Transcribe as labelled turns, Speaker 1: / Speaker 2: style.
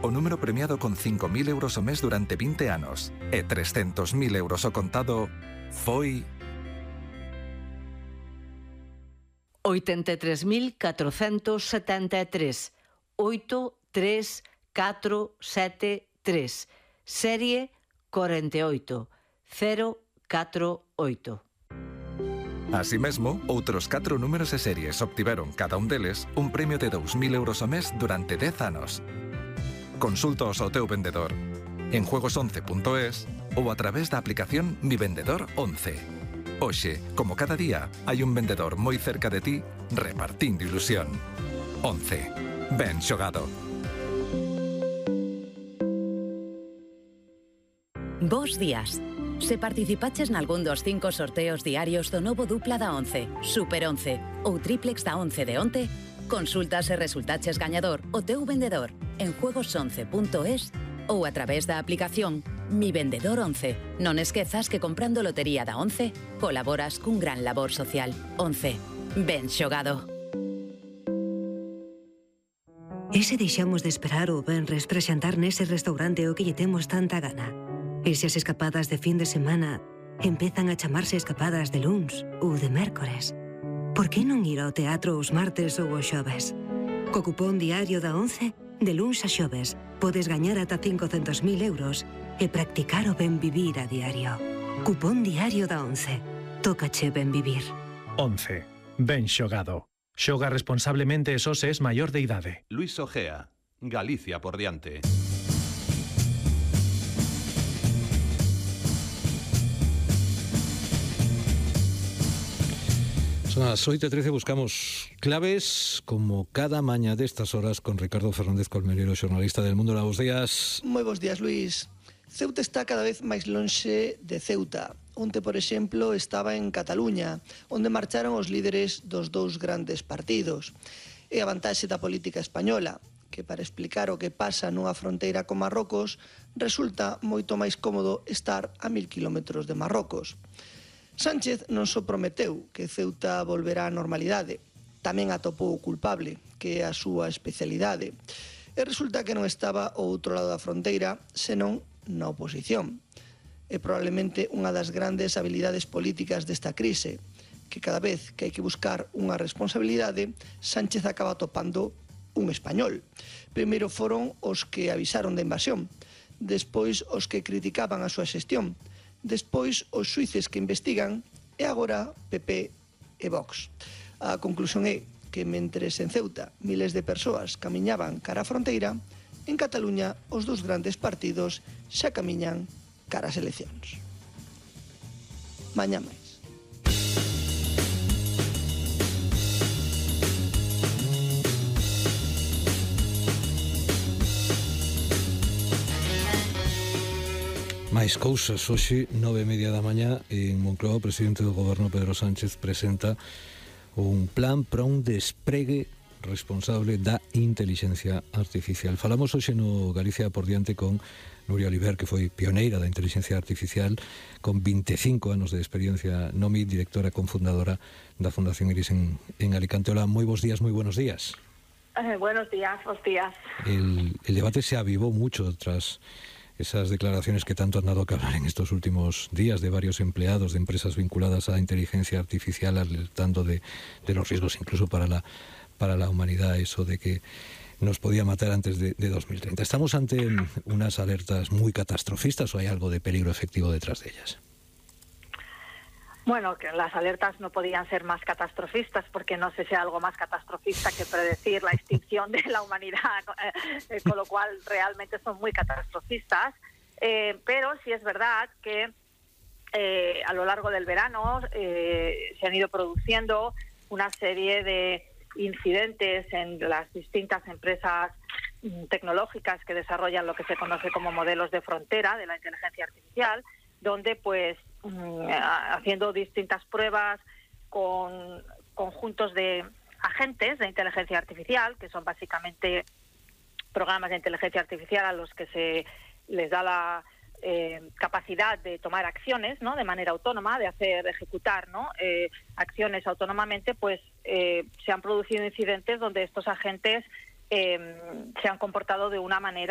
Speaker 1: o número premiado con 5.000 euros o mes durante 20 anos e 300.000 euros o contado foi
Speaker 2: 83.473 83473 serie 48048.
Speaker 1: Así mesmo, outros 4 números e series obtiveron cada un deles un premio de 2.000 euros o mes durante 10 anos. Consúltaos ao teu vendedor en juegos11.es ou a través da aplicación Mi Vendedor 11. Hoxe, como cada día, hai un vendedor moi cerca de ti repartindo ilusión. 11. Ben xogado.
Speaker 3: Bos días. Se participaches nalgún dos 5 sorteos diarios do novo dupla da 11, Super 11 ou triplex da 11 de onte, consulta se resultaches gañador o teu vendedor en juegos11.es ou a través da aplicación Mi Vendedor 11. Non esquezas que comprando lotería da 11 colaboras cun gran labor social. 11. Ben xogado.
Speaker 4: E se deixamos de esperar o venres para xantar nese restaurante o que lle temos tanta gana? E se as escapadas de fin de semana empezan a chamarse escapadas de luns ou de mércores? Por que non ir ao teatro os martes ou os xoves? Co cupón diario da 11, de luns a xoves, podes gañar ata 500.000 euros e practicar o ben vivir a diario. Cupón diario da 11. Tócache ben vivir.
Speaker 5: 11. Ben xogado. Xoga responsablemente e só se es maior de idade.
Speaker 6: Luis Ojea, Galicia por diante.
Speaker 7: Son as 8:13, buscamos claves como cada maña destas horas con Ricardo Fernández Colmenero, xornalista del Mundo. Bos días.
Speaker 8: Moi bons días, Luis. Ceuta está cada vez máis lonxe de Ceuta. Onte, por exemplo, estaba en Cataluña, onde marcharon os líderes dos dous grandes partidos. E a vantaxe da política española, que para explicar o que pasa nunha fronteira con Marrocos, resulta moito máis cómodo estar a 1000 kilómetros de Marrocos. Sánchez non só prometeu que Ceuta volverá á normalidade, tamén atopou o culpable, que é a súa especialidade. E resulta que non estaba ao outro lado da fronteira, senón na oposición. É probablemente unha das grandes habilidades políticas desta crise, que cada vez que hai que buscar unha responsabilidade, Sánchez acaba topando un español. Primeiro foron os que avisaron da invasión, despois os que criticaban a súa xestión, despois os xuíces que investigan e agora PP e Vox. A conclusión é que mentres en Ceuta miles de persoas camiñaban cara á fronteira, en Cataluña os dous grandes partidos xa camiñan cara ás eleccións. Mañá máis.
Speaker 7: Máis cousas, hoxe 9:30 da mañá en Moncloa, o presidente do goberno Pedro Sánchez presenta un plan para un despregue responsable da intelixencia artificial. Falamos hoxe no Galicia por diante con Nuria Oliver, que foi pioneira da intelixencia artificial, con 25 anos de experiencia NOMI, directora e cofundadora da Fundación Iris en Alicante. Hola, moi bons días, moi buenos días.
Speaker 9: Buenos días, bons días.
Speaker 7: El debate se avivó mucho tras esas declaraciones que tanto han dado que hablar en estos últimos días de varios empleados de empresas vinculadas a la inteligencia artificial, alertando de los riesgos incluso para la humanidad, eso de que nos podía matar antes de 2030. ¿Estamos ante unas alertas muy catastrofistas o hay algo de peligro efectivo detrás de ellas?
Speaker 9: Bueno, que las alertas no podían ser más catastrofistas, porque no sé si hay algo más catastrofista que predecir la extinción de la humanidad, con lo cual realmente son muy catastrofistas, pero sí es verdad que a lo largo del verano se han ido produciendo una serie de incidentes en las distintas empresas tecnológicas que desarrollan lo que se conoce como modelos de frontera de la inteligencia artificial, donde pues haciendo distintas pruebas con conjuntos de agentes de inteligencia artificial, que son básicamente programas de inteligencia artificial a los que se les da la capacidad de tomar acciones, ¿no?, de manera autónoma, de ejecutar, ¿no?, acciones autónomamente, pues se han producido incidentes donde estos agentes se han comportado de una manera